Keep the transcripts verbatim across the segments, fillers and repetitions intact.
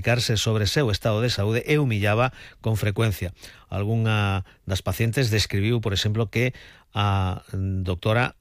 comunicarse sobre o seu estado de saúde e humillaba con frecuencia. Algunha das pacientes describiu, por exemplo, que a doctora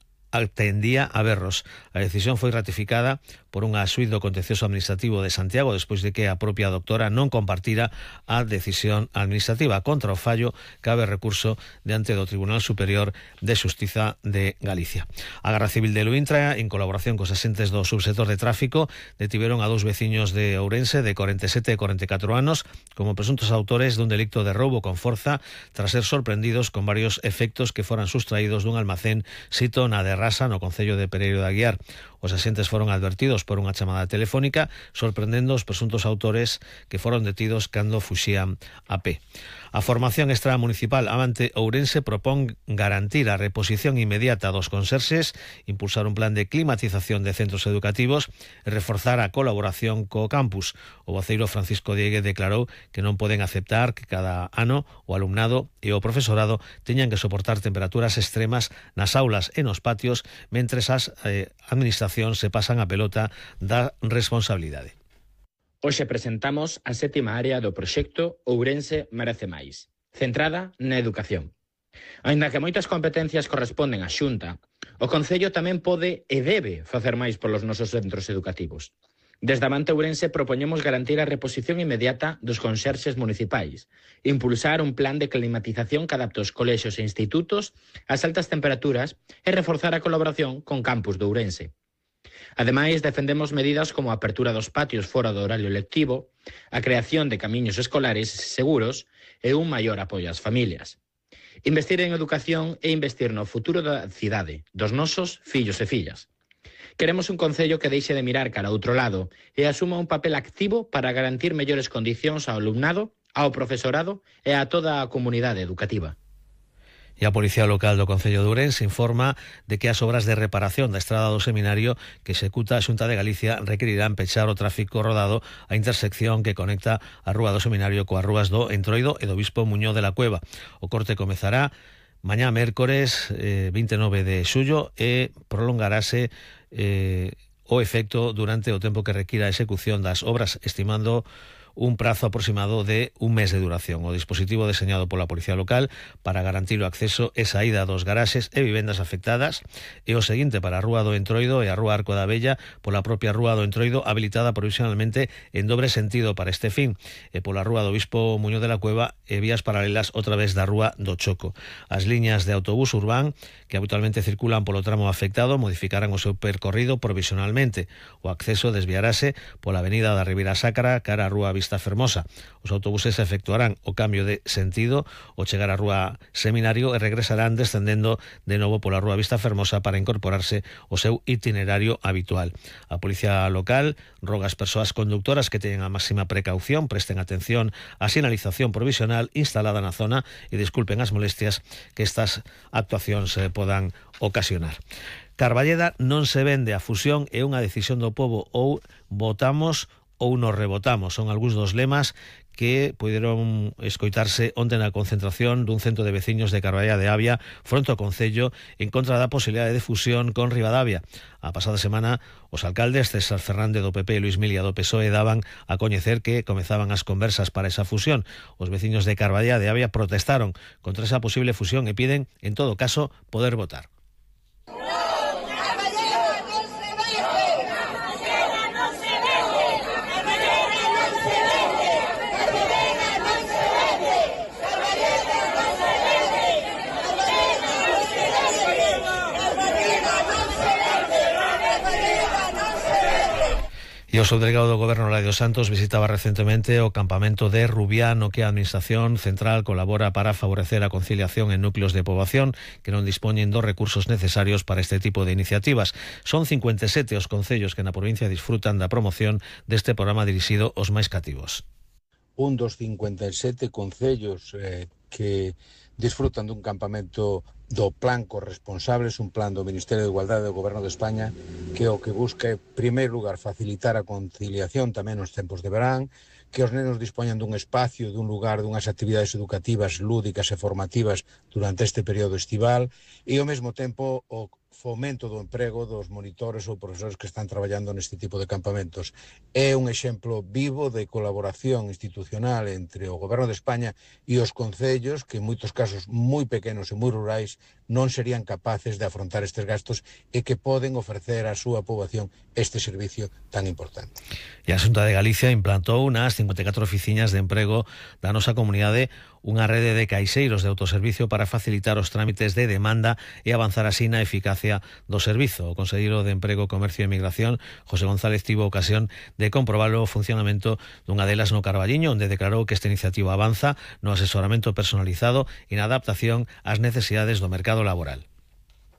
tendía a berros. A decisión foi ratificada por unha suite do Contencioso Administrativo de Santiago despois de que a propia doctora non compartira a decisión administrativa. Contra o fallo cabe recurso diante do Tribunal Superior de Xustiza de Galicia. A Garda Civil de Luíntra, en colaboración cos asentes do subsector de tráfico, detiveron a dous veciños de Ourense de cuarenta e sete e cuarenta e catro anos como presuntos autores dun delicto de roubo con forza tras ser sorprendidos con varios efectos que foran sustraídos dun almacén sito na Derrasa, no concello de Pereiro de Aguiar. Os asentes foron advertidos por unha chamada telefónica sorprendendo os presuntos autores que foron detidos cando fuxían a pé. A formación extramunicipal Avante Ourense propón garantir a reposición inmediata dos conserxes, impulsar un plan de climatización de centros educativos e reforzar a colaboración co campus. O voceiro Francisco Diegue declarou que non poden aceptar que cada ano o alumnado e o profesorado teñan que soportar temperaturas extremas nas aulas e nos patios mentres as eh, administracións se pasan a pelota da responsabilidade. Hoxe presentamos a sétima área do proxecto Ourense Merece Máis, centrada na educación. Aínda que moitas competencias corresponden á Xunta, o Concello tamén pode e debe facer máis polos nosos centros educativos. Desde Avante Ourense propoñemos garantir a reposición inmediata dos conserxes municipais, impulsar un plan de climatización que adapte os colexios e institutos ás altas temperaturas e reforzar a colaboración con campus de Ourense. Ademais, defendemos medidas como a apertura dos patios fora do horario lectivo, a creación de camiños escolares seguros e un maior apoio ás familias. Investir en educación e investir no futuro da cidade, dos nosos fillos e fillas. Queremos un concello que deixe de mirar cara a outro lado e asuma un papel activo para garantir mellores condicións ao alumnado, ao profesorado e a toda a comunidade educativa. E a Policía Local do Concello de Ourense informa de que as obras de reparación da estrada do Seminario que executa a Xunta de Galicia requerirán pechar o tráfico rodado a intersección que conecta a Rúa do Seminario coas rúas do Entroido e do Bispo Muñoz de la Cueva. O corte comezará mañá mércores eh, vinte e nove de xullo e prolongarase eh, o efecto durante o tempo que requira a execución das obras, estimando un prazo aproximado de un mes de duración. O dispositivo deseñado pola Policía Local para garantir o acceso e saída dos garaxes e vivendas afectadas e o seguinte para a Rúa do Entroido e a Rúa Arco da Vella pola propia Rúa do Entroido habilitada provisionalmente en dobre sentido para este fin e pola Rúa do Bispo Muñoz de la Cueva e vías paralelas outra vez da Rúa do Choco. As liñas de autobús urbán que habitualmente circulan polo tramo afectado modificarán o seu percorrido provisionalmente. O acceso desviarase pola avenida da Ribeira Sacra cara a Rúa Vista Fermosa. Os autobuses efectuarán o cambio de sentido ao chegar á Rúa Seminario e regresarán descendendo de novo pola Rúa Vista Fermosa para incorporarse ao seu itinerario habitual. A Policía Local roga ás persoas conductoras que teñen a máxima precaución, presten atención á sinalización provisional instalada na zona e disculpen as molestias que estas actuacións eh, podan ocasionar. Carballeda non se vende, a fusión é unha decisión do pobo, ou votamos ou nos rebotamos. Son algúns dos lemas que puderon escoitarse onte na concentración dun centro de veciños de Carballeda de Avia fronte ao Concello en contra da posibilidade de fusión con Ribadavia. A pasada semana, os alcaldes César Fernández do P P e Luis Milia do P S O E daban a coñecer que comezaban as conversas para esa fusión. Os veciños de Carballeda de Avia protestaron contra esa posible fusión e piden, en todo caso, poder votar. E o subdelegado do Goberno, Ladio Santos, visitaba recentemente o campamento de Rubiá, no que a Administración Central colabora para favorecer a conciliación en núcleos de poboación que non dispoñen dos recursos necesarios para este tipo de iniciativas. Son cincuenta e sete os concellos que na provincia disfrutan da promoción deste programa dirixido aos máis cativos. Un dos cincuenta e sete concellos eh, que disfrutan dun campamento do plan corresponsables, un plan do Ministerio de Igualdade do Goberno de España que o que busca, en primeiro lugar, facilitar a conciliación tamén nos tempos de verán, que os nenos dispoñan dun espacio, dun lugar, dunhas actividades educativas lúdicas e formativas durante este período estival e ao mesmo tempo o fomento do emprego dos monitores ou profesores que están traballando neste tipo de campamentos. É un exemplo vivo de colaboración institucional entre o Goberno de España e os concellos que en moitos casos moi pequenos e moi rurais non serían capaces de afrontar estes gastos e que poden ofrecer á súa poboación este servicio tan importante. E a Xunta de Galicia implantou unas cincuenta e catro oficinas de emprego da nosa comunidade, unha rede de caixeiros de autoservicio para facilitar os trámites de demanda e avanzar así na eficacia do servizo. O conselleiro de Emprego, Comercio e Migración, José González, tivo ocasión de comprobar o funcionamento dunha delas no Carballiño, onde declarou que esta iniciativa avanza no asesoramento personalizado e na adaptación ás necesidades do mercado laboral.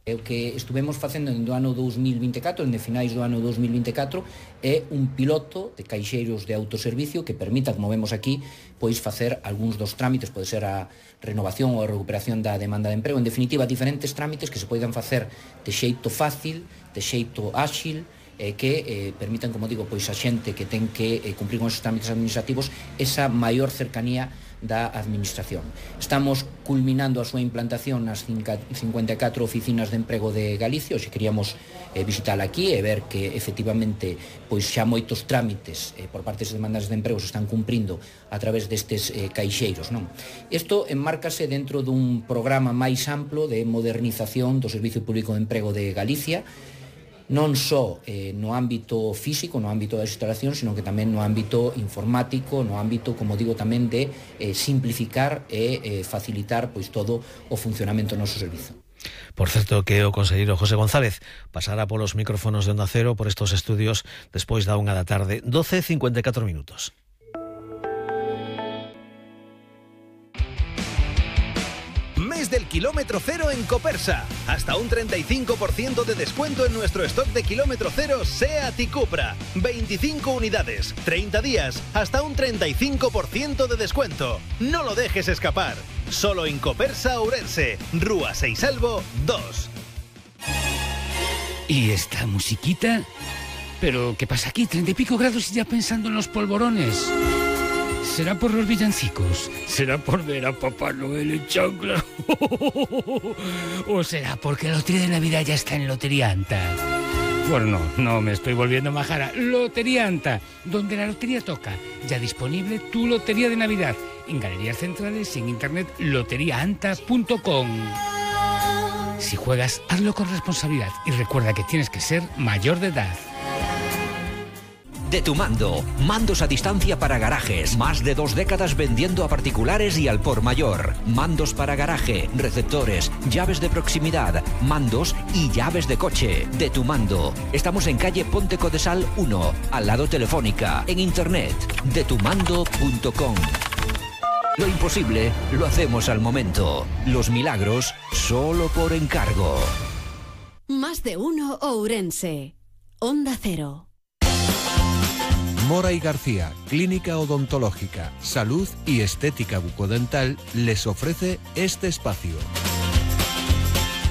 O que estuvemos facendo no ano dous mil vinte e catro, en de finais do ano dous mil vinte e catro, é un piloto de caixeiros de autoservicio que permita, como vemos aquí, pois facer algúns dos trámites, pode ser a renovación ou a recuperación da demanda de emprego, en definitiva, diferentes trámites que se poidan facer de xeito fácil, de xeito áxil, eh, que eh, permitan, como digo, pois a xente que ten que eh, cumprir con esos trámites administrativos esa maior cercanía da administración. Estamos culminando a súa implantación nas cincuenta e catro oficinas de emprego de Galicia. Hoxe queríamos eh, visitar aquí e ver que efectivamente pois xa moitos trámites eh, por parte das demandas de emprego se están cumprindo a través destes eh, caixeiros, non? Isto enmárcase dentro dun programa máis amplo de modernización do Servicio Público de Emprego de Galicia, non só eh, no ámbito físico, no ámbito das instalacións, sino que tamén no ámbito informático, no ámbito, como digo, tamén de eh, simplificar e eh, facilitar pois todo o funcionamento do noso servizo. Por certo que o conselleiro José González pasará polos micrófonos de Onda Cero por estos estudios despois da unha da tarde, doce e cincuenta e catro minutos. Mes del kilómetro cero en Copersa. Hasta un treinta y cinco por ciento de descuento en nuestro stock de kilómetro cero SEAT y Cupra. veinticinco unidades, treinta días, hasta un treinta y cinco por ciento de descuento. No lo dejes escapar. Solo en Copersa Ourense, Rúa Seisalvo dos. ¿Y esta musiquita? ¿Pero qué pasa aquí? Treinta y pico grados y ya pensando en los polvorones. ¿Será por los villancicos? ¿Será por ver a Papá Noel en chancla? ¿O será porque la lotería de Navidad ya está en Lotería Anta? Bueno, no, no me estoy volviendo majara. Lotería Anta, donde la lotería toca. Ya disponible tu lotería de Navidad. En galerías centrales y en internet lotería anta punto com. Si juegas, hazlo con responsabilidad y recuerda que tienes que ser mayor de edad. De Tu Mando, mandos a distancia para garajes, más de dos décadas vendiendo a particulares y al por mayor. Mandos para garaje, receptores, llaves de proximidad, mandos y llaves de coche. De Tu Mando. Estamos en calle Ponte Codesal uno, al lado Telefónica, en internet, de tu mando punto com. Lo imposible lo hacemos al momento. Los milagros solo por encargo. Más de uno Ourense. Onda Cero. Mora y García, Clínica Odontológica, Salud y Estética Bucodental, les ofrece este espacio.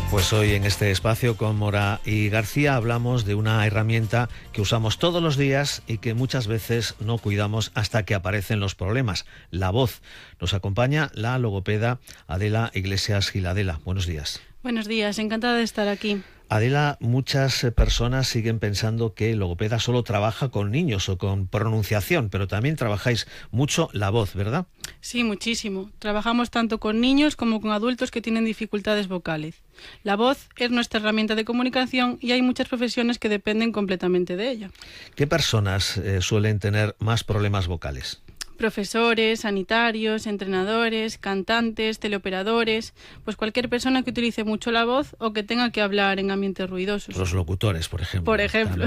Pues hoy en este espacio con Mora y García hablamos de una herramienta que usamos todos los días y que muchas veces no cuidamos hasta que aparecen los problemas, la voz. Nos acompaña la logopeda Adela Iglesias Giladela. Buenos días. Buenos días, encantada de estar aquí. Adela, muchas personas siguen pensando que el logopeda solo trabaja con niños o con pronunciación, pero también trabajáis mucho la voz, ¿verdad? Sí, muchísimo. Trabajamos tanto con niños como con adultos que tienen dificultades vocales. La voz es nuestra herramienta de comunicación y hay muchas profesiones que dependen completamente de ella. ¿Qué personas eh, suelen tener más problemas vocales? Profesores, sanitarios, entrenadores, cantantes, teleoperadores, pues cualquier persona que utilice mucho la voz o que tenga que hablar en ambientes ruidosos. Los locutores, por ejemplo. Por ejemplo.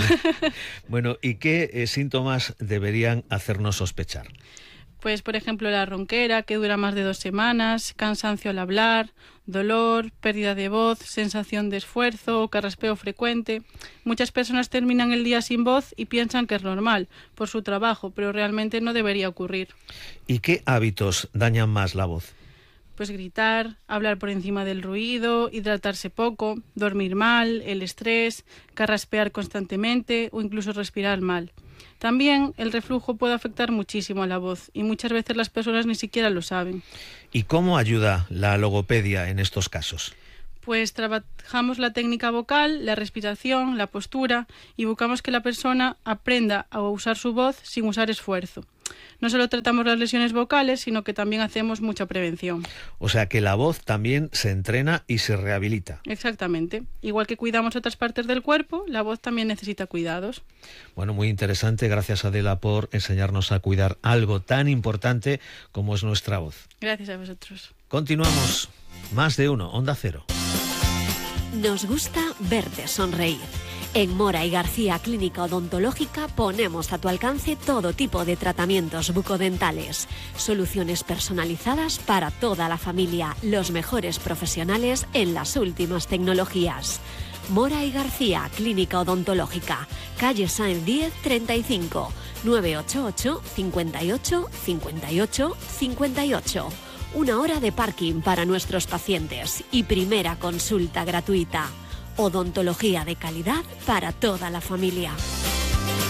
Bueno, ¿y qué eh, síntomas deberían hacernos sospechar? Pues, por ejemplo, la ronquera, que dura más de dos semanas, cansancio al hablar, dolor, pérdida de voz, sensación de esfuerzo o carraspeo frecuente. Muchas personas terminan el día sin voz y piensan que es normal por su trabajo, pero realmente no debería ocurrir. ¿Y qué hábitos dañan más la voz? Pues gritar, hablar por encima del ruido, hidratarse poco, dormir mal, el estrés, carraspear constantemente o incluso respirar mal. También el reflujo puede afectar muchísimo a la voz y muchas veces las personas ni siquiera lo saben. ¿Y cómo ayuda la logopedia en estos casos? Pues trabajamos la técnica vocal, la respiración, la postura y buscamos que la persona aprenda a usar su voz sin usar esfuerzo. No solo tratamos las lesiones vocales, sino que también hacemos mucha prevención. O sea que la voz también se entrena y se rehabilita. Exactamente. Igual que cuidamos otras partes del cuerpo, la voz también necesita cuidados. Bueno, muy interesante. Gracias, Adela, por enseñarnos a cuidar algo tan importante como es nuestra voz. Gracias a vosotros. Continuamos. Más de uno, Onda Cero. Nos gusta verte sonreír. En Mora y García Clínica Odontológica ponemos a tu alcance todo tipo de tratamientos bucodentales, soluciones personalizadas para toda la familia, los mejores profesionales en las últimas tecnologías. Mora y García Clínica Odontológica, calle Sáenz diez treinta y cinco, nueve ocho ocho, cincuenta y ocho, cincuenta y ocho, cincuenta y ocho. Una hora de parking para nuestros pacientes y primera consulta gratuita. Odontología de calidad para toda la familia.